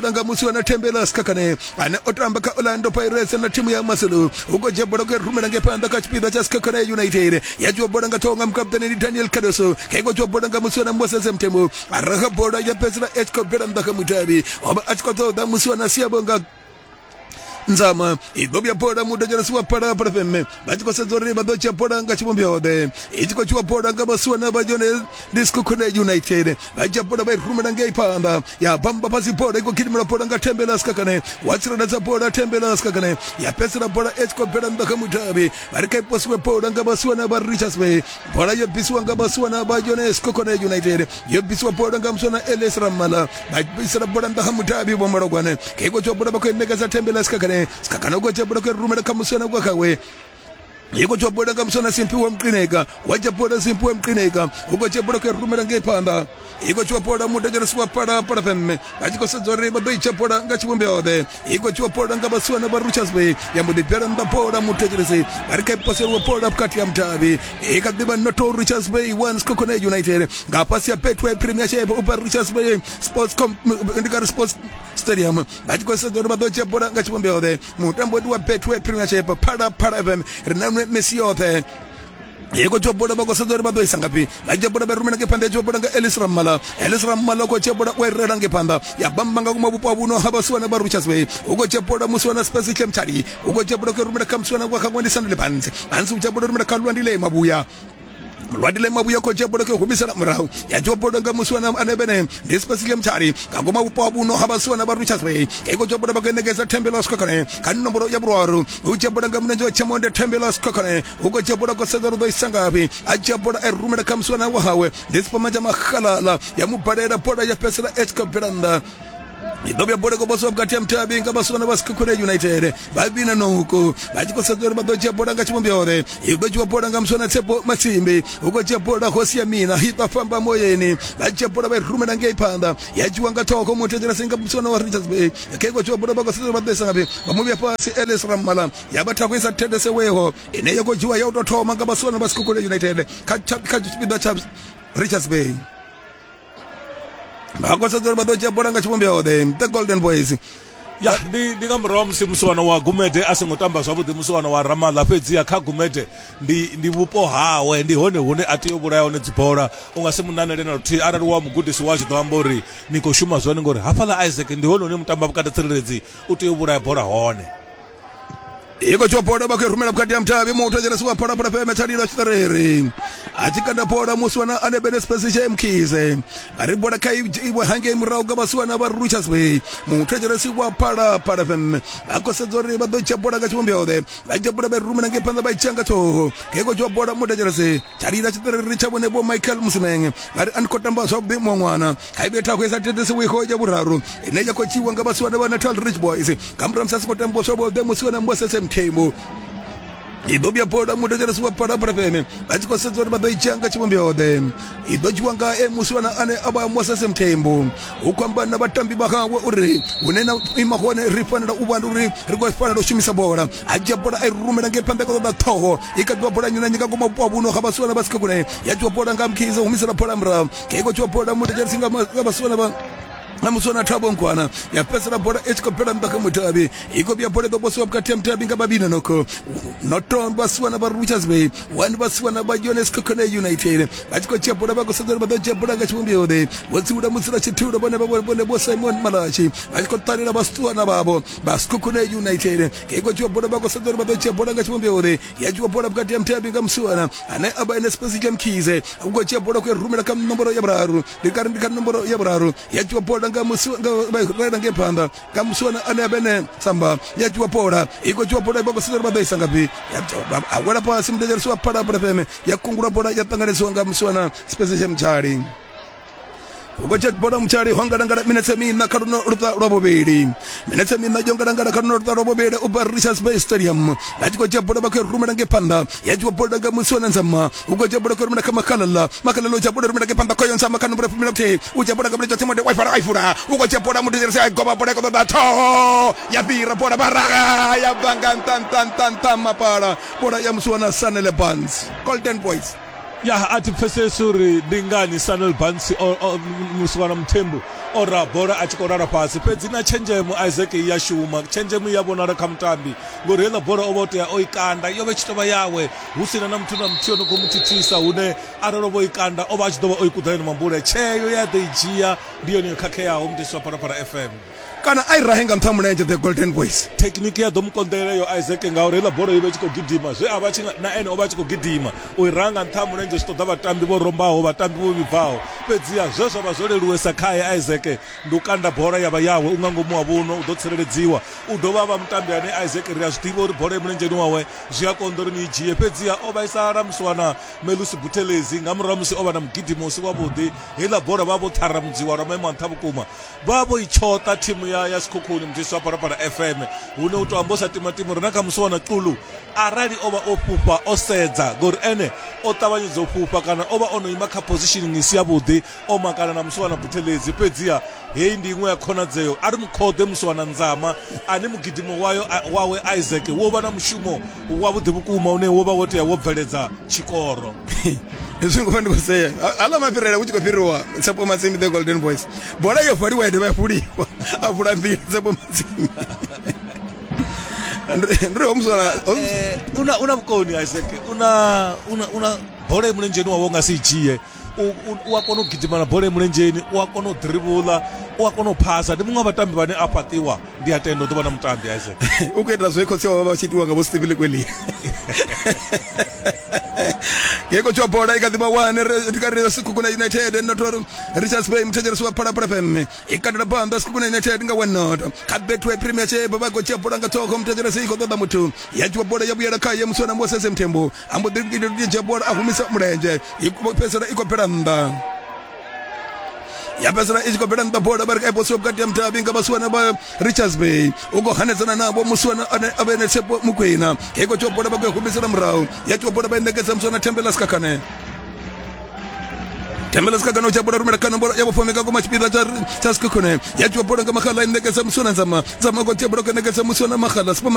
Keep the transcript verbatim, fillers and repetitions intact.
Nga musi wana Thembela Sikhakhane ane o tamba kha Orlando Pirates na thimu ya Maselou u khou dzhia bola ku rumela nge phanḓa kha tshipiḓa tsha Sikhakhane United. Ya dzhia bola nga ṱhoho nga mukaputeni ndi Daniel Cardoso, kha khou dzhia bola nga musi wana Moses Mthembu, a raha bola ya fhedzisela i tshi khou bvela nnḓa kha mudavhi. O vha a tshi khou ṱoḓa musi wana Siyabonga Nzama. I ḓo vhuya bola muthetshelesi wa Phalaphala F M vha tshi khou sedza uri vha ḓo dzhia bola nga tshivhumbeo ḓe. I tshi khou dzhiwa bola nga vhasiwana vha yone ndi Sekhukhune United, vha dzhia bola vha i rumela ngei phanḓa, ya bamba fhasi bola i khou gidimela bola nga Thembela Sikhakhane, wa tsireledza bola Thembela Sikhakhane, ya fhedzisela bola i tshi khou bvela nnḓa kha mudavhi. Vha ri kha i posiwe bola nga vhasiwana vha Richards Bay, bola yo bvisiwa nga vhasiwana vha yone Sekhukhune United, yo bvisiwa bola nga musiwana Elias Ramala, vha bvisela bola nnḓa kha mudavhi vho Malogwane. Kha i khou dzhiwa bola vha khou i ṋekedza Thembela Sikhakhane, Sikhakhane u khou dzhia bola khou rumela kha musiwana wa khawe. I khou dzhia bola nga musiwana Simphiwe Mqineka, wa dzhia bola Simphiwe Mqineka, u khou dzhia bola khou rumela ngei phanḓa. I khou dzhiwa bola muthetshelesi wa Phalaphala F M vha tshi khou sedza uri vha ḓo i dzhia bola nga tshivhumbeo ḓe. I khou dzhiwa bola nga vhasiwana vha Richards Bay, ya mbo ḓi bvela nnḓa bola muthetshelesi, vha ri kha i poseliwe bola vhukati ha mudavhi. I kha ḓivha noto Richards Bay one Sekhukhune United nga fhasi ya Betway Premiership u bva Richards Bay Sports ndi kha Sports Stadium. Vha tshi khou sedza uri vha ḓo dzhia bola nga tshivhumbeo ḓe. Mutambo ndi wa Betway Premiership, Phalaphala F M ri na misi yoṱhe. I khou dzhia bola vha khou sedza uri vha ḓo isa ngafhi. Vha dzhia bola vha rumela ngei phanḓa, ya dzhia bola nga Ellis Ramala, Ellis Ramala u khou dzhia bola u i rela ngei phanḓa, ya bamba nga kuma vhupo ha vhuno ha vhasiwana vha Richards Bay. U khou dzhia bola musiwana Spesihle Mtshali, u khou dzhia bola u rumela kha musiwana wa kha Ngwandi Sandile Banzi, Banzi u dzhia bola rumela kha Lwandile Mabuya, Lwandile Mabuya khou dzhia bola khou humisela murahu, ya dzhia bola nga musiwana ane bene ndi Spesihle Mtshali nga ngoma vhupo ha vhuno ha vhasiwana vha Richards Bay. I khou dzhia bola vha khou ṋekedza Thembela Sikhakhane kha nomboro ya vhuraru, u dzhia bola nga mulenzhe wa tshamonde Thembela Sikhakhane, u khou dzhia bola khou sedza uri ḓo isa ngafhi, a dzhia bola a rumela kha musiwana wa hawe ndi Sipamanja Makhalala, ya mu balela bola ya fhedzisela i tshi khou bvela nnḓa. I ḓo vhuya bola khou posiwa vhukati ha mudavhi nga vhasiwana vha Sekhukhune United vha vhina noko, vha tshi khou sedza uri vha ḓo dzhia bola nga tshivhumbeo ḓe. I ḓo dzhiwa bola nga musiwana Tshepo Matsimbi, u khou dzhia bola Hosi ya Mina i ḓo fhamba moyeni, vha dzhia bola vha i rumela ngei phanḓa, ya dzhiwa nga ṱhoho muthetshelesi nga musiwana wa Richards Bay. Kha i khou dzhiwa bola vha khou sedza uri vha ḓo isa ngafhi, vha mu vhuya fhasi Elias Ramala, ya vha thakho i sa thetshelesiweho ine ya khou dzhiwa ya u tou thoma nga vhasiwana vha Sekhukhune United kha kha tshipiḓa tsha Richards Bay. Vha khou sedza uri vha ḓo dzhia bola nga tshivhumbeo ḓe the Golden Boys. Ya ndi ndi nga murahu ha musi musiwana wa Gumede a songo tamba zwavhuḓi, musiwana wa Ramala, fhedziha kha Gumede ndi ndi vhupo hawe, ndi hone hune a tea u vhulaya hone dzibola. U nga si munanele na luthihi arali wa mugudisi wa tshi ḓo amba uri ni khou shuma zwone, ngori hafhaḽa Isaac ndi hone hune mutamba vhukati tsireledzi u tea u vhulaya bola hone. I khou dzhia bola vha khou rumela vhukati ha mudavhi muthetshelesi wa Phalaphala F M Tshalilo Tshiṱerere a tshi kanda bola musiwana ane bene Spesihle Mkhize, vha ri bola kha iwe hangei murahu nga vhasiwana vha Richards Bay. Muthetshelesi wa Phalaphala F M vha khou sedza uri vha ḓo dzhia bola nga tshivhumbeo ḓe, vha dzhia bola vha rumela ngei phanḓa vha i dzhia nga ṱhoho. Kha i khou dzhia bola muthetshelesi Tshalila Tshiṱerere tsha vhone vho Michael Musimeng, vha ri a ni khou tamba zwavhuḓi muṅwe ṅwana. Kha i vhe thakho i sa thetshelesiwiho ya vhuraru ine ya khou dzhiwa nga vhasiwana vha Natal Rich Boys nga murahu musi a si khou tambiwa zwavhuḓi musiwana Moses Mthembu. I ḓo vhuya bola muthetshelesi wa Phalaphala F M vha tshi khou sedza uri vha ḓo i dzhia nga tshivhumbeo ḓe. I ḓo dzhiwa nga e musiwana ane a vha Moses Mthembu, u khou amba na vhatambi vha hawe uri hune na ima hone ri fanela u vha uri ri khou fanela u shumisa bola. A dzhia bola a i rumela ngei phanḓa kha ṱoḓa ṱhoho, i kha ḓivha bola nnyi na nnyi nga ngomu vhupo ha vhuno ha vhasiwana vha Sekhukhune, ya dzhiwa bola nga Mkhize humisela bola murahu. I khou dzhiwa bola muthetshelesi nga vhasiwana vha na musiwana Thabo Nkwana, ya fhedzisela bola i tshi khou bvela nnḓa kha mudavhi. I khou vhuya bola i ḓo posiwa vhukati ha mudavhi nga vhavhili noko noto vhasiwana vha Richards Bay one vhasiwana vha yone Sekhukhune United vha tshi khou dzhia bola vha khou sedza uri vha ḓo dzhia bola nga tshivhumbeo ḓe. Vho tsiula mutsila tshithulo vhone vha vhone vho Simon Malachi vha tshi khou ṱalela vhasiwana vhavho vha Sekhukhune United. I khou dzhia bola vha khou sedza uri vha ḓo dzhia bola nga tshivhumbeo ḓe, ya dzhiwa bola vhukati ha mudavhi nga musiwana ane a vha ene Spesihle Mkhize, u khou dzhia bola khou rumela kha nomboro ya vhuraru, ndi kari ndi kha nomboro ya vhuraru, ya dzhiwa bola nga musi nga vha ngei phanḓa nga musiwana ane a vhene Samba, ya dzhiwa bola i khou dzhiwa bola vha khou sedza uri vha ḓo isa ngafhi, a wela fhasi muthetshelesi wa Phalaphala F M, ya kungula bola ya ṱanganedzwa nga musiwana Spesihle Mtshali. U khou dzhia bola Mtshali ho ngalangala minetse miṋa kha luno luṱa lwa vhuvhili, minetse miṋa yo ngalangala kha luno luṱa lwa vhuvhili u bva Richards Bay Stadium. Vha tshi khou dzhia bola vha khou rumela ngei phanḓa, ya dzhiwa bola nga musiwana Nzama, u khou dzhia bola khou rumela kha Makhalala, Makhalala u dzhia bola rumela ngei phanḓa khoyo Nzama kha nomboro ya fumi na vhuthihi, u dzhia bola nga mulenzhe wa Timote wa ifara a ifula, u khou dzhia bola muthetshelesi a goba bola i khou ṱoḓa ṱhoho ya fhira bola vharaga ya bva nga nṱha nṱha nṱha nṱha mapala, bola ya musiwana Sanele Barnes. Golden Boys. Ya, a thi pfesesi uri ndi ngani Sanel Bansi musiwana Mthembu o ra bola a tshi khou lala fhasi, fhedzi na tshenzhemo Isaac ya shuma, tshenzhemo ya vhonala kha mutambi ngori heiḽa bola o vha o tea o i kanda, yo vha tshi tovha yawe hu sina na muthu na muthihi ono khou mu thithisa, hune arali o vho i kanda o vha a tshi ḓo vha o i kuḓa yone mambule. Tsheo ya ḓo i dzhia ndi yone yo khakheaho mutisi wa Phalaphala F M. Kana a i rahe nga nṱha mulenzhe the Golden Boys. Thekhiniki ya ḓo mu konḓela yo Isaac ngauri heiḽa bola yo vha i tshi khou gidima, zwe a vha tshi na ene o vha a tshi khou gidima u i raha nga nṱha ha mulenzhe zwi ṱoḓa vhatambi vho rombaho, vhatambi vho vhibvaho, fhedziha zwe zwa vha zwo leluwesa khae Isaac ndi u kanda bola ya vha yawe, u nga ngomu wa vhuno u ḓo tsireledziwa. U dovha a vha mutambi ane Isaac ri a zwi ḓivha uri bola i mulenzheni wawe zwi a konḓa uri ni i dzhie, fhedziha o vhaisala musiwana Melusi Buthelezi nga murahu musi o vha na mugidimo u si wavhuḓi, heiḽa bola vha vho ṱharamudziwa lwa maimo a nṱha vhukuma, vha vho i tshoṱa thimu ya ya Sekhukhune mutisi wa Phalaphala F M, hune u to amba u sa timatima uri na kha musiwana Xulu arali o vha o fhufha o sedza ngori ene o ṱavhanyedza u fhufha kana o vha o no ima kha positioning isi yavhuḓi o makala na musiwana Buthelezi, fhedziha heyi ndi iṅwe ya khonadzeo a ri mukhoḓe musiwana Nzama ane mugidimo wayo wawe Isaac wo vha na mushumo wavhuḓi vhukuma une wo vha wo tea wo bveledza tshikoro. Hezwi ngo ndi khou sea aḽa mafhirela hu tshi khou fhiriwa Tshepo Matsimi the Golden Boys, bola yo valiwa ya dovha ya vuliwa a vula mbili Tshepo Matsimi. Ndi ho muswana una una vhukoni Isaac, una una una bola i mulenzheni wawe u nga si i dzhie, u a kona u gidima na bola i mulenzheni, u a kona u dribula, u a kona u phasa, ndi muṅwe wa vhatambi vhane a fhaṱiwa, ndi a tenda u ḓo vha na mutambi Isaac. U khou ita zwe khotsi wawe vha tshi itiwa nga vho Steve Lekweli. Yeko tswa bola i kha ḓivha one ri kha ri Sekhukhune United not Richards Bay muthetshelesi wa Phalaphala F M i katela phanḓa Sekhukhune United nga one not kha Betway Premiership vha khou dzhia bola nga ṱhogo muthetshelesi i khou ṱoḓa muthu ya dzhiwa bola ya vhuyela khaye musiwana Moses Mthembu a mbo ḓi dzhia bola a humisa mulenzhe i fhedzisela i khou bvela nnḓa ya fhedzisela i tshi khou bvela nnḓa bola vha ri kha iposiwa vhukati ha mudavhi nga vhasiwana vha Richards Bay u khou hanedzana navho musiwana ane a vha ene Tshepo Mukwena i khou dzhiwa bola vha khou humisela murahu ya dzhiwa bola vha i ṋekedza musiwana Thembela Sikhakhane. Thembela Sikhakhane u dzhia bola rumela kana bola ya vhofome nga ngoma tshipiḓa tsha tsha Sekhukhune ya dzhiwa bola nga Makhala i ṋekedza musiwana Nzama Nzama khou dzhia bola khou ṋekedza musiwana Makhala Sipho